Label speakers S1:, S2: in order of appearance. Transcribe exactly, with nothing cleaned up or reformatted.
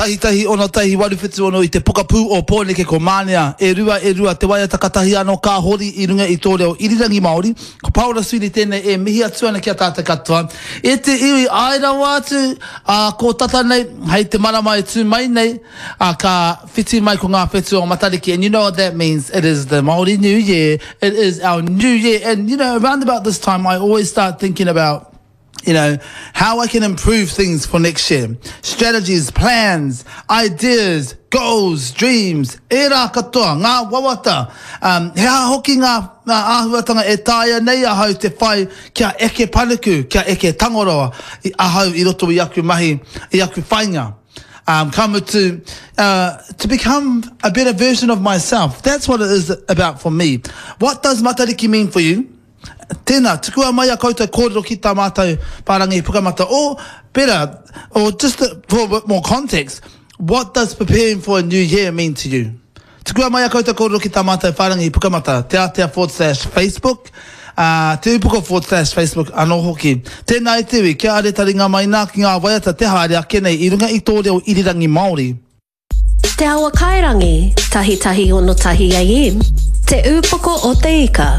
S1: Tahi tahi ono tahi waru whitu ono i te pokapū o Pōneke ko Mānea. E rua e rua te waiata katahi anō ka hori i runga i tō reo irirangi Māori. Ko Paora Sweeney tēnei e mihi atu ana ki a tātou katoa. E te iwi, āe rawa atu, ā, ko tata nei, hei te marama e tū mai nei, ā, ka whiti mai ko ngā whetū o Matariki. And you know what that means? It is the Māori New Year. It is our new year. And, you know, around about this time, I always start thinking about you know, how I can improve things for next year. Strategies, plans, ideas, goals, dreams, ērā katoa, ngā wawata. Um, he aha hoki ngā, ngā āhuatanga e taea nei ahau te whai kia eke panuku, kia eke tangoroa i ahau i roto i aku mahi, i aku whainga. Um, ka mutu, uh, to become a better version of myself. That's what it is about for me. What does Matariki mean for you? Tēnā, tukua mai a koutou kōrero ki tā mātou whārangi pukamata. Or, better, or just to, for a bit more context, what does preparing for a new year mean to you? Tukua mai a koutou kōrero ki tā mātou whārangi pukamata, te atea forward slash Facebook, uh, te upoko forward slash Facebook anō hoki. Tēnā e te iwi, kia are taringa mai nā ki ngā waiata te haere ake nei i runga i tō reo irirangi Māori.
S2: Te Awa Kairangi, tahi tahi ono tahi AM, Te Upoko o te Ika.